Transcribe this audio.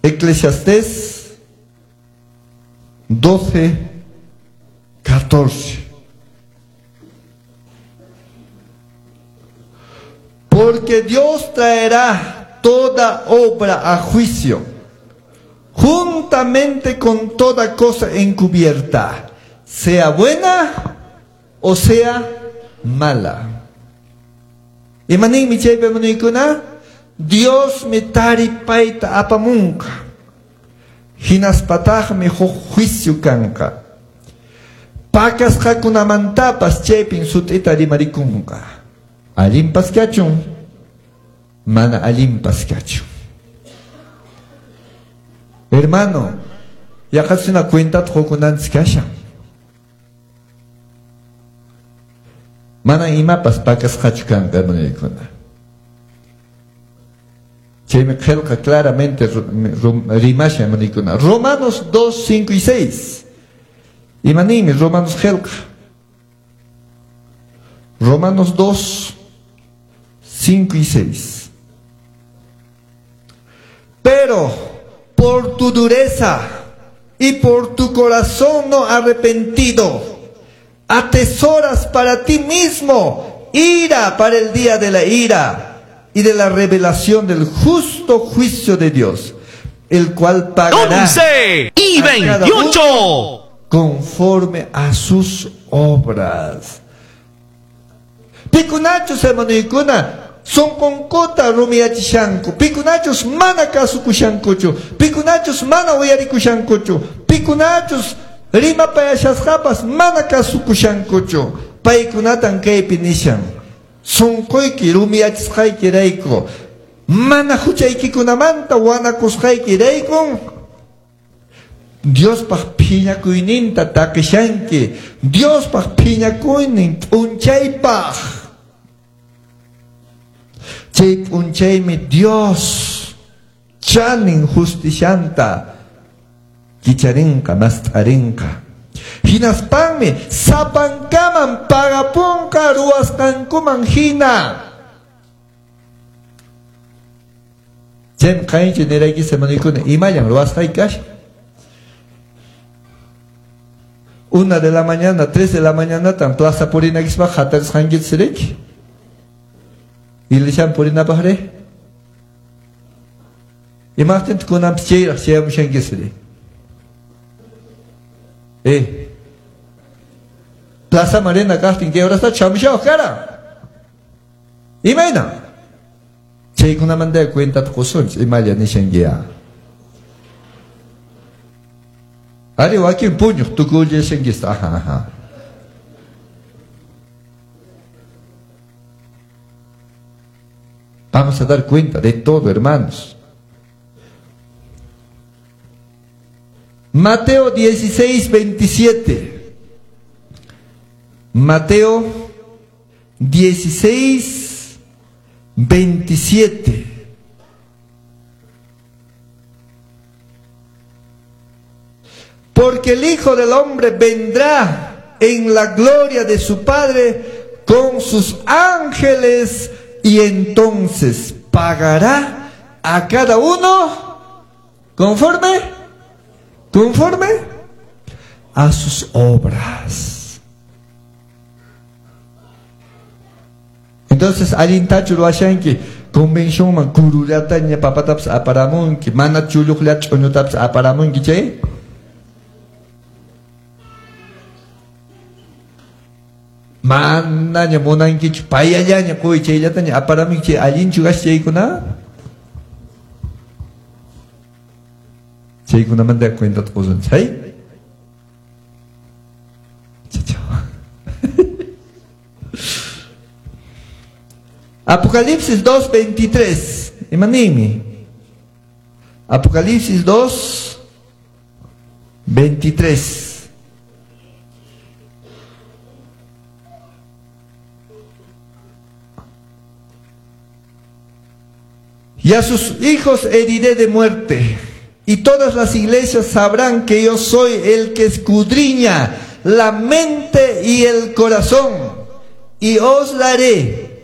Eclesiastés 12, 14. Porque Dios traerá toda obra a juicio, juntamente con toda cosa encubierta, sea buena o sea mala. Imaninmi chaypi hermanoykuna? Diosmi taripayta apamunqa. Hinaspataqmi huk juicio kanqa. Pakasqakunamantapas chaypin sut'ita rimarikunqa. Allinpas kachun, mana allinpas kachun. Hermano, yaqachuna cuentata qukunanchis kashan. Mana imapas pakasqachu kanqa, hermanoykuna. Chaymi qillqa claramente rimashan, hermanoykuna. Romanos 2, 5 y 6. Imaninmi Romanos qillqa? Romanos 2, 5 y 6. Pero por tu dureza y por tu corazón no arrepentido, atesoras para ti mismo ira para el día de la ira y de la revelación del justo juicio de Dios, el cual pagará 11 y a cada 28. uno conforme a sus obras. Pikunachus, hermanoykuna, sonqonkuta rumiyachishanku. Pikunachus mana kasukushankuchu. Pikunachus mana uyarikushankuchu. Pikunachus rimapayashasqapas mana kasukushankuchu. Paykunatan kaypi nishan. Sonqoyki rumiyachisqaykirayku, mana huchaykikunamanta wanakusqaykiraykun, Diospaq phiñakuyninta taqishanki. Diospaq phiñakuynin p'unchaypaq. Chay p'unchaymi Dios chanin justicianta kicharinqa, mast'arinqa. Hinaspanmi sapankaman pagapunqa ruwasqankuman hina. Chaymi qanchis niraykis, hermanoykuna, imallan ruwasqayki kashan. 1 de la mañana, 3 de la mañana, tan plaza purinakispa hatarisqankichis riki. Iglesian purinapaq ri. Imaqtintaq kunanpis chayraq chayamushankis ri? Plaza Marina kaqtin kay horasta chamushawaq karan. Imayna? Chaykunamanta cuentata qusunchis, imalla nishankiya. Ari wakin puñuq tukullashankis, ajá, ajá. Vamos a dar cuenta de todo, hermanos. Mateo 16, 27. Mateo 16, 27. Porque el Hijo del Hombre vendrá en la gloria de su Padre con sus ángeles, y entonces pagará a cada uno conforme a sus obras. Entonces, allintachu ruwashanki, convencionman kurullatanya papatapas aparamunki, mana chulluqllachu ch'uñutapas aparamunki chay. Manaña munankichu, payallaña quy chayllataña aparamunki chay, allinchu kash chaykuna? Chaykunamanta cuentata qusun chay. Chao. Apocalipsis 2, 23. Imanimi. Apocalipsis 2, 23. Y a sus hijos heriré de muerte, y todas las iglesias sabrán que yo soy el que escudriña la mente y el corazón, y os daré